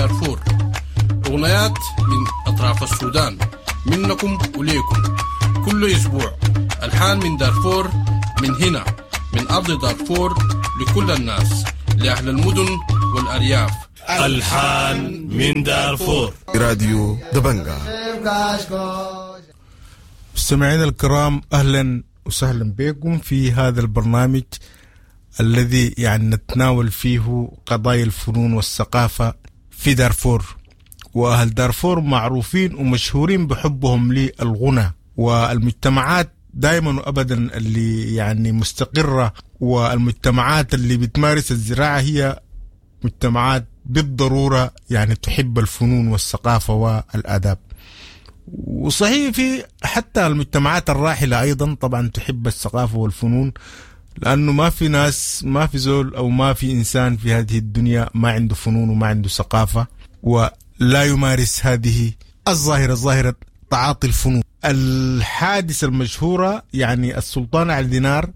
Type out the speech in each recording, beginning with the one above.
دارفور، أغنيات من أطراف السودان، منكم وليكم. كل أسبوع ألحان من دارفور، من هنا من أرض دارفور، لكل الناس، لأهل المدن والأرياف. ألحان من دارفور. راديو دبنجا. مستمعينا الكرام، اهلا وسهلا بكم في هذا البرنامج الذي يعني نتناول فيه قضايا الفنون والثقافة في دارفور. وأهل دارفور معروفين ومشهورين بحبهم للغنى، والمجتمعات دائما وابدا اللي يعني مستقرة والمجتمعات اللي بتمارس الزراعة هي مجتمعات بالضرورة يعني تحب الفنون والثقافة والآداب. وصحيح في حتى المجتمعات الراحلة أيضا طبعا تحب الثقافة والفنون، لأنه ما في ناس، ما في زول أو ما في إنسان في هذه الدنيا ما عنده فنون وما عنده ثقافة ولا يمارس هذه الظاهرة، ظاهرة تعاطي الفنون. الحادثة المشهورة يعني السلطان علي دينار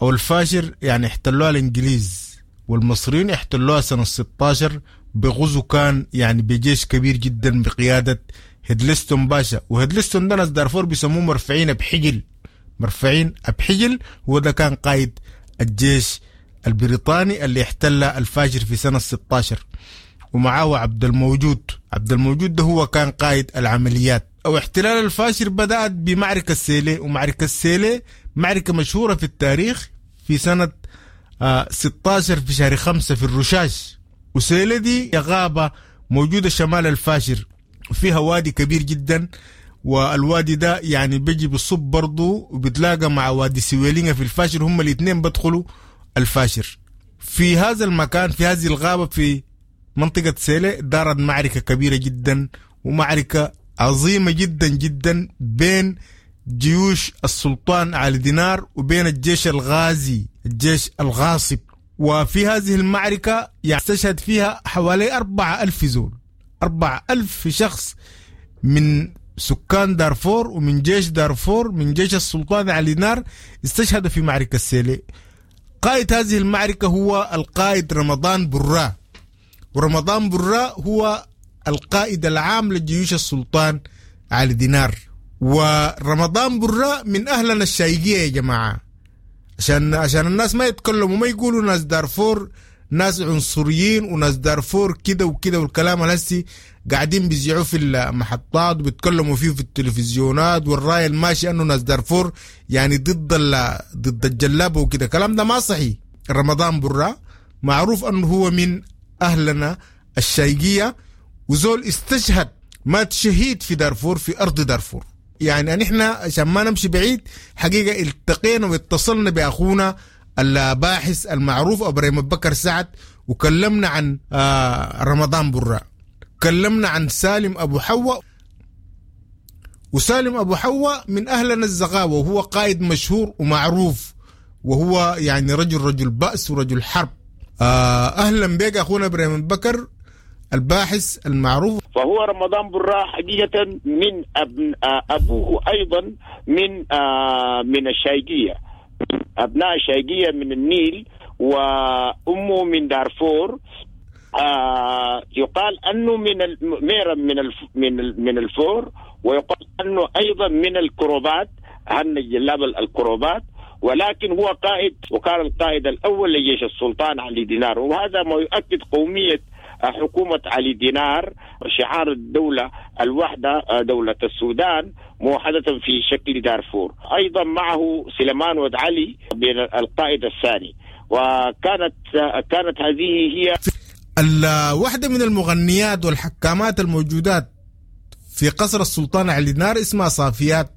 أو الفاشر يعني احتلوها الإنجليز والمصريين، احتلوها سنة 16 بغزو كان يعني بجيش كبير جدا بقيادة هيدلستون باشا. وهيدلستون ده ناس دارفور بيسموه مرفعين بحجل، مرفعين أبحجل، هو ده كان قائد الجيش البريطاني اللي احتل الفاجر في سنة 16، ومعاه عبد الموجود. عبد الموجود ده هو كان قائد العمليات. أو احتلال الفاشر بدأت بمعركة سيلي، ومعركة سيلي معركة مشهورة في التاريخ في سنة 16 في شهر 5 في الرشاش. وسيلي دي غابة موجودة شمال الفاشر، وفيها وادي كبير جدا، والوادي ده يعني بيجي بالصب برضو وبتلاقى مع وادي سويلينga في الفاشر، هم الاثنين بدخلوا الفاشر. في هذا المكان، في هذه الغابة، في منطقة سيلة، دارت معركة كبيرة جدا ومعركة عظيمة جدا جدا بين جيوش السلطان علي دينار وبين الجيش الغازي، الجيش الغاصب. وفي هذه المعركة يعني استشهد فيها حوالي 4000 زول، 4000 شخص من سكان دارفور ومن جيش دارفور، من جيش السلطان علي دينار، استشهدوا في معركة سيلي. قائد هذه المعركة هو القائد رمضان براء، ورمضان براء هو القائد العام لجيوش السلطان علي دينار. ورمضان براء من أهلنا الشايقية يا جماعة، عشان الناس ما يتكلموا ما يقولوا ناس دارفور ناس عنصريين وناس دارفور كده وكده والكلام الهسي قاعدين بيذيعوه في المحطات وبيتكلموا فيه في التلفزيونات، والراي الماشي انه ناس دارفور يعني ضد الجلابه وكده، الكلام ده ما صحيح. رمضان برا معروف انه هو من اهلنا الشايقيه، وزول استشهد، مات شهيد في دارفور، في ارض دارفور. يعني نحن عشان ما نمشي بعيد، حقيقه التقينا واتصلنا باخونا الباحث المعروف ابراهيم بكر سعد، وكلمنا عن رمضان براء، كلمنا عن سالم ابو حواء. وسالم ابو حواء من اهلنا الزغاوه، وهو قائد مشهور ومعروف، وهو يعني رجل بأس ورجل حرب. اهلا بك اخونا ابراهيم بكر الباحث المعروف. فهو رمضان براء حقيقة من أبوه أيضا من الشايقية، أبناء الشايقية من النيل، وأمه من دارفور. يقال أنه من ميرا من الفور، ويقال أنه أيضا من الكروبات، هن الجلاب الكروبات، ولكن هو قائد، وكان القائد الأول لجيش السلطان علي دينار، وهذا ما يؤكد قومية حكومة علي دينار. شعار الدولة الوحدة، دولة السودان موحدة في شكل دارفور. أيضا معه سليمان ود علي بين القائد الثاني، وكانت هذه هي واحدة من المغنيات والحكامات الموجودات في قصر السلطان علي دينار، اسمها صافيات.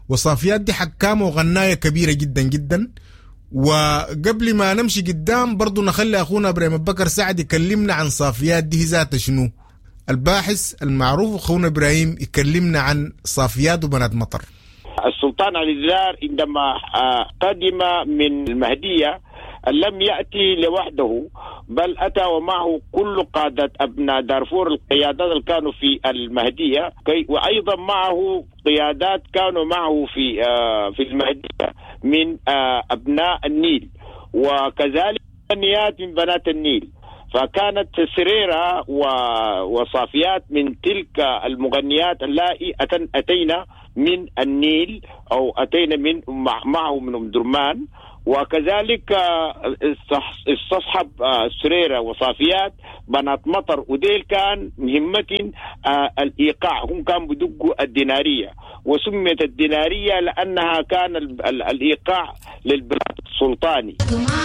وصافيات دي حكامة وغناية كبيرة جدا جدا. وقبل ما نمشي قدام برضو نخلي أخونا إبراهيم بكر سعد يكلمنا عن صافيات دي ذات شنو. الباحث المعروف أخونا إبراهيم يكلمنا عن صافيات وبنات مطر. السلطان علي دينار عندما قدم من المهدية لم يأتي لوحده، بل أتى ومعه كل قادة أبناء دارفور، القيادات اللي كانوا في المهدية، وأيضا معه قيادات كانوا معه في المهدية من أبناء النيل، وكذلك نيات من بنات النيل. فكانت سريرة وصافيات من تلك المغنيات اللائي أتينا من النيل أو أتينا من معه من أم درمان. وكذلك استصحب سريرة وصافيات بنات مطر، وديل كان مهمتهم الإيقاع، هم كانوا بدقوا الدينارية، وسميت الدينارية لأنها كان الإيقاع للبلاد السلطاني.